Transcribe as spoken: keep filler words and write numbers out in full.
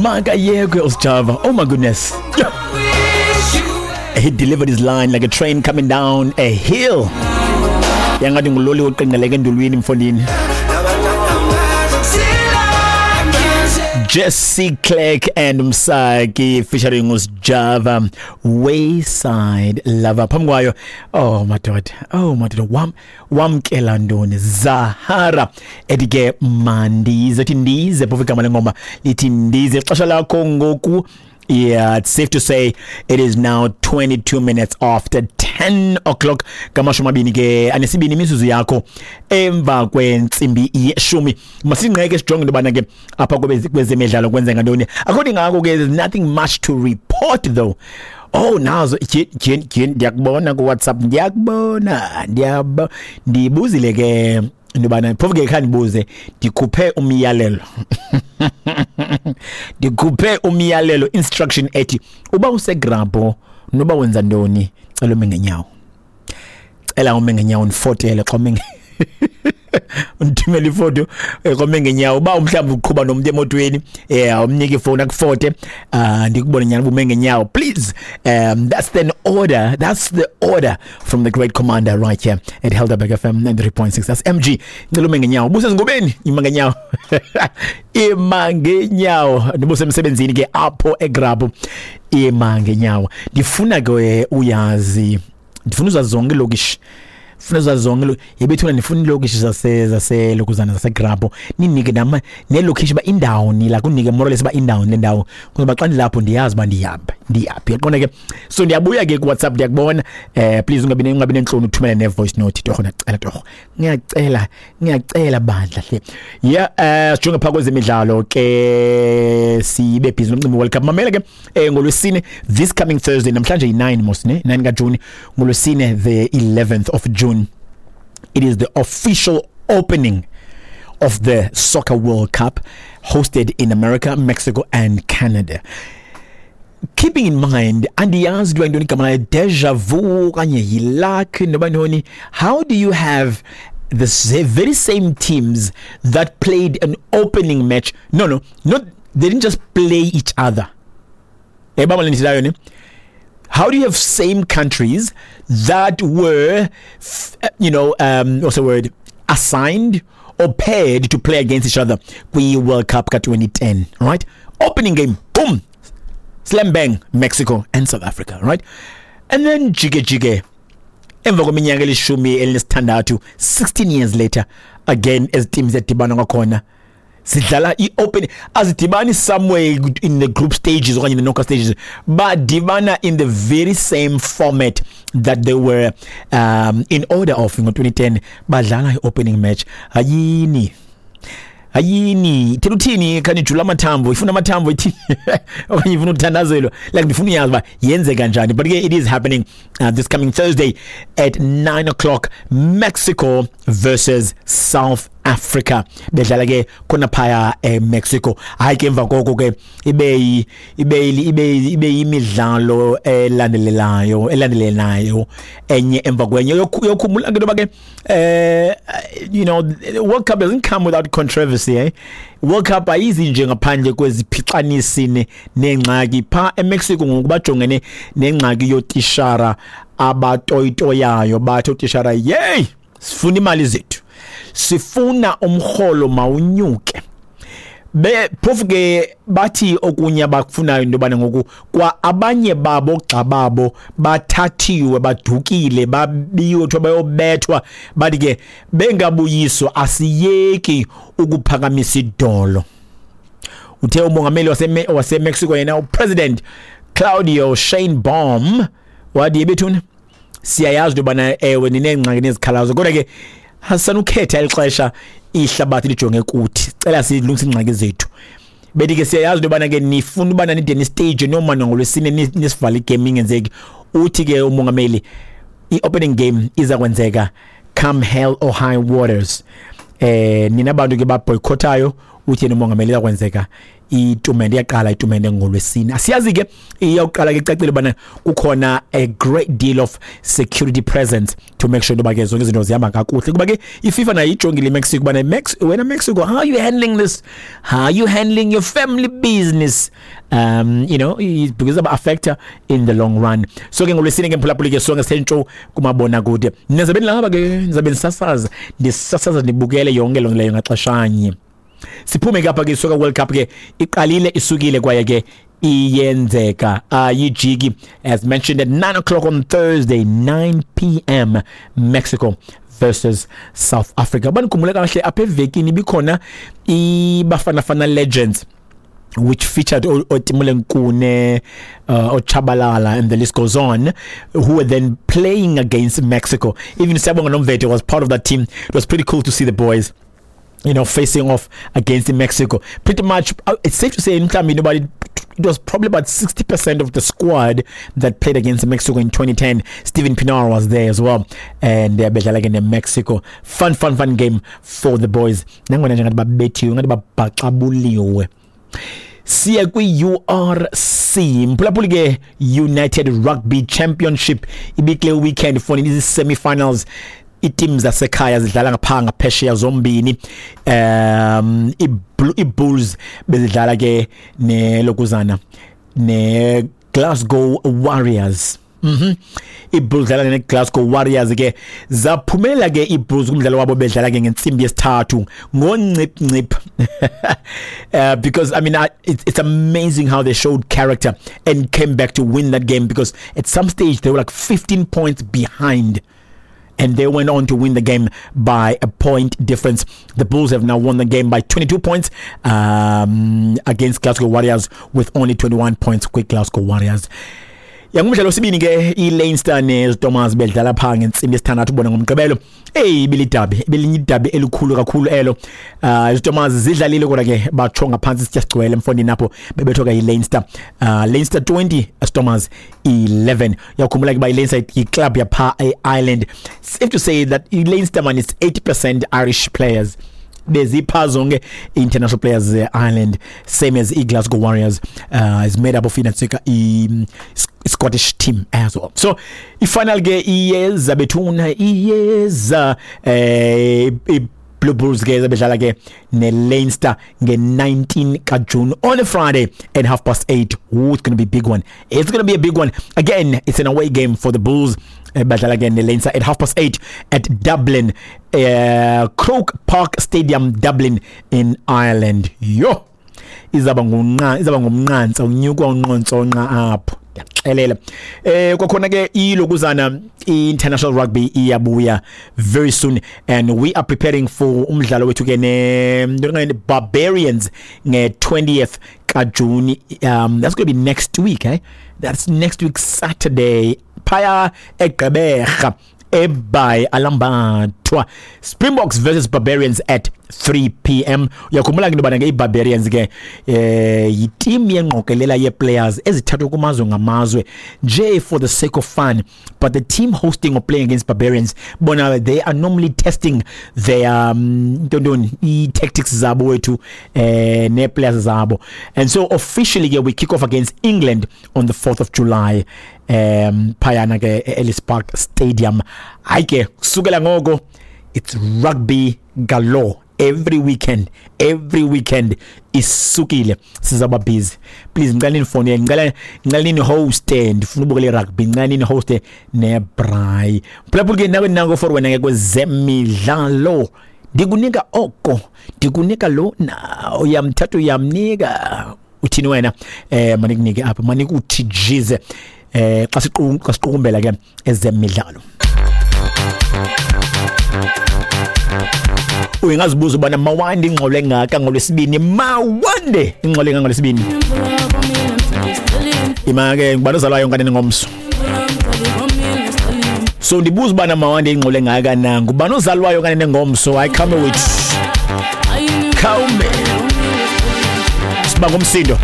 Makayekwe uSjava. Oh my goodness. Yeah. He delivered his line like a train coming down a hill. Yangathi nguloli oqinqeleke endulwini mfondini. Jesse Clegg and Msaki featuring uSjava, Wayside Lover. Phambi kwayo, oh madoda, oh madoda, wam wamkela ntoni Zahara ethi ke mandize, ethi ndize, phofu igama lengoma lithi ndize. Ixesha lakho ngoku, yeah, it's safe to say it is now twenty-two minutes after ten o'clock. Ngamashumi amabini ke anesibini imizuzu yakho emva kwentsimbi yeshumi. Masingqeke sijonge into yobana ke apha kwezemidlalo kwenzeka ntoni. According ngako ke there's nothing much to report though. Oh, nazo ndiyakubona ku WhatsApp, ndiyakubona, ndiyabo ndibuzile ke into yobana phofu ke khandibuze, ndikhuphe umyalelo. Ndikhuphe umyalelo, instruction ethi uba usegrabho noba wenza ntoni, cela ume ngenyawo. Cela ume ngenyawo ndifotele xa ume undithumele ifoto xa ume ngenyawo. Uba mhlawumbi uqhuba nomntu emotweni, yeah, umnike ifowuni akufote, uh, ndikubone nyani uba ume ngenyawo. Please, um, that's the order. That's the order from the great commander right here at Helderberg F M ninety-three point six. That's M G. Ngicela ume ngenyawo. Busezingobeni, ima ngenyawo. Ima ngenyawo. Ndibusemsebenzini ke apho eGrabho. Ima ngenyawo. Ndifuna ke uyazi, ndifuna uzazi zonke ilokishi. Funa uzazi zonke yebethuna, ndifuna ilokishi zase zase lokuzana zaseGrabho. Ninike nama nelokishi ba indawo ni la kunike more or less ba indawo le ndawo. Kuzoba xa ndilapho ndiyazi uba ndiyaphi, ndiyaphi. Yaqonda ke. So ndiyabuya ke ku WhatsApp, ndiyakubona. Eh please ungabi ungabi nentloni uthumele ne voice note torho, ndiyacela torho. Ngiyacela, ngiyacela bandla hle. Yeah, eh sijonge phaka kwezemidlalo ke sibe busy nomcimbi World Cup. Mamela ke eh ngolwesine this coming Thursday, namhlanje yi nine mos ne nine ka June, ngolwesine the eleventh of June. It is the official opening of the Soccer World Cup hosted in America, Mexico and Canada. Keeping in mind, andiyazi kuthiwa yintoni igama layo, deja vu okanye yiluck noba ntoni, how do you have the very same teams that played an opening match? No, no, not, they didn't just play each other. How do you have same countries that were, you know, um, what's the word, assigned or paired to play against each other? We World Cup twenty ten, right? Opening game, boom, slam bang, Mexico and South Africa, right? And then jige jige, emva kweminyaka elishumi elinesithandathu, sixteen years later, again as teams ziyadibana kwakhona. Sidlala i-open, azidibani somewhere in the group stages or in the knockout stages, but dibana in the very same format that they were um, in order of in twenty ten. Badlala i-opening match. Hayini. Hayini. Thela uthini khanijula amathambo, ifuna amathambo ithini okanye ifuna uthandazelwa. Like ndifuna uyazi uba yenzeka njani. But it is happening uh, this coming Thursday at nine o'clock, Mexico versus South Africa. Bedlala ke khona phaya eMexico. Hayi ke emva koko ke ibe ibe ibe ibe imidlalo elandelelayo elandelelayo enye emva kwenye. Yokhumula ke ntoba ke eh you know, World Cup doesn't come without controversy, eh? World Cup ayizi nje ngaphandle kweziphicanisini nengxaki. Pha eMexico ngoku bajongene nengxaki yotishara abatoyitoyayo, bathi otishara, yey, sifuna imali zethu, sifuna umrholo mawunyuke. Be phofu ke bathi okunye abakufunayo into yobana ngoku kwa abanye babo gxa babo bathathiwe, badukile, babiwe, kuthiwa bayobethwa, bathi ke bengabuyiswa asiyeki ukuphakamisa idolo. Uthe umongameli wase waseMexico yena uPresident Claudio Sheinbaum wathi yebethuna siyayazi into yobana ewe nineengxaki nezikhalazo, kodwa ke asanukhetha ixesha ihlabathi lijonge kuthi, cela silungise ingxaki zethu. Bethi ke siyayazi into yobana ke nifuna ubana nide ni-stage noma ngolwesine nisivale igame ingenzeki. Uthi ke umongameli i-opening game iza kwenzeka come hell or high waters. Eh nina bantu ke baboycothayo, uthi yena umongameli iza kwenzeka Itumente iyaqala, itumente ngolwesine. Asiyazi ke, iyawuqala ke, icacile ubana kukhona a great deal of security presence to make sure into yoba ke zonke izinto zihamba kakuhle, kuba ke iFIFA nayo ijongile iMexico ubana Mex wena Mexico, how are you handling this? How are you handling your family business? um you know because aba affecta in the long run. So ke ngolwesine ke, mphulaphuli ke, sonke sithe kumabona kude. Nizabe nilapha ke, nizabe ndisasaza ndisasaza ndibukele yonke loo leyo ngaxeshanye. Siphume ke apha ke. Soccer World Cup ke iqalile, isukile, kwaye ke iyenzeka, ayijiki. As mentioned, at nine o'clock on Thursday, nine p m, Mexico versus South Africa. Banikhumbule kahle, apha evekini ibikhona iBafana Fana Legends, which featured Otimule Nkune, uh, Ochabalala, and the list goes on, who were then playing against Mexico. Even Siyabonga Nomvete was part of that team. It was pretty cool to see the boys you know, facing off against Mexico. Pretty much, uh, it's safe to say, mhlawumbi nobody, it was probably about sixty percent of the squad that played against Mexico in twenty ten. Steven Pienaar was there as well. And uh, bedlala ke Mexico. Fun, fun, fun game for the boys. Nangona nje ngathi babethiwe, ngathi babhaxabuliwe. Siya kwi-U R C, mphulaphuli ke. United Rugby Championship ibikule weekend for izi-semi-finals. Iteam zasekhaya zidlala ngapha ngaphesheya zombini. um i-Bulls bezidlala ke nelokuzana ne-Glasgow Warriors. Mhm. iBulls dlala neGlasgow Warriors ke, zaphumela ke iBulls kumdlalo wabo bedlala ke ngentsimbi yesithathu ngoncip ncip, uh, because I mean, I, it, it's amazing how they showed character and came back to win that game, because at some stage they were like fifteen points behind and they went on to win the game by a point difference. The Bulls have now won the game by twenty-two points um, against Glasgow Warriors, with only twenty-one points kwi Glasgow Warriors. Yangumdlalo wesibini ke, iLeinster neStormers bedlala pha ngentsimbi yesithandathu bona ngomgqibelo. Hey, ibilidabi, ibelinye idabi elikhulu kakhulu elo. uh iStormers zidlalile, kodwa ke batsho ngaphansi sitya sigcwele mfondini apho bebethwa ke iLeinster. uh Leinster twenty, Stormers eleven. Uyakhumbula ke ba iLeinster iclub yapha eIreland. Safe to say that iLeinster, man, is eighty percent Irish players, bezipha zonke international players ze-Ireland, same as i-Glasgow Warriors uh, is made up of inantsika i-Scottish team as well. So i-final ke iyeza bethuna, iyeza. eh Blue Bulls ke zabedlala ke ne-Leinster nge-nineteen kaJune on a Friday at half past eight. Ooh, it's going to be a big one. It's going to be a big one. Again, it's an away game for the Bulls. Badlala ke ne-Leinster at half past eight at Dublin, uh, Croke Park Stadium, Dublin in Ireland. Yo, izaba ngunqa izaba ngumnqantsa, unyukwa unqontsonqa apho, ndiyakuxelela. eh kwakhona ke ilokuzana international rugby iyabuya very soon, and we are preparing for umdlalo wethu ke ne Barbarians nge twentieth kaJuni. um that's going to be next week, eh that's next week Saturday, phaya eGqeberha, eBhayi alambathwa. Springboks versus Barbarians at three p m. Uyakhumbula ke into yobana ke iBarbarians ke eh yiteam yengqokelela yee-players ezithathwe kumazwe ngamazwe nje for the sake of fun, but the team hosting or playing against Barbarians bona, they are normally testing their um, ntontoni, ii-tactics zabo wethu eh nee-players zabo. And so officially ke we kick off against England on the fourth of July, um phayana ke e-Ellis Park Stadium. Hayi ke, kusukela ngoko it's rugby galore every weekend, every weekend isukile, sizaba busy. Please, ngicela nifone, ngicela ngicela nini host, ndifuna ubukela irugby, ngicela nini host nebraai. Phulaphula ke, nawe nango for wena ke kwezemidlalo, ndikunika oko, ndikunika lo na uyamthatha, uyamnika, uthini wena? eh manikunike apha, manikuthi jize eh xa siqu xa siqukumbela ke ezemidlalo. Uyingazibuza ubana mawande ingxolo engaka ngolwesibini, mawande ingxolo engaka ngolwesibini. Ima ke, ngubani ozalwayo nkanene ngomso? So ndibuza ubana mawande ingxolo engaka na, ngubani ozalwayo kanene ngomso? Hayi, khame wethu, khawume, siba ngumsindo.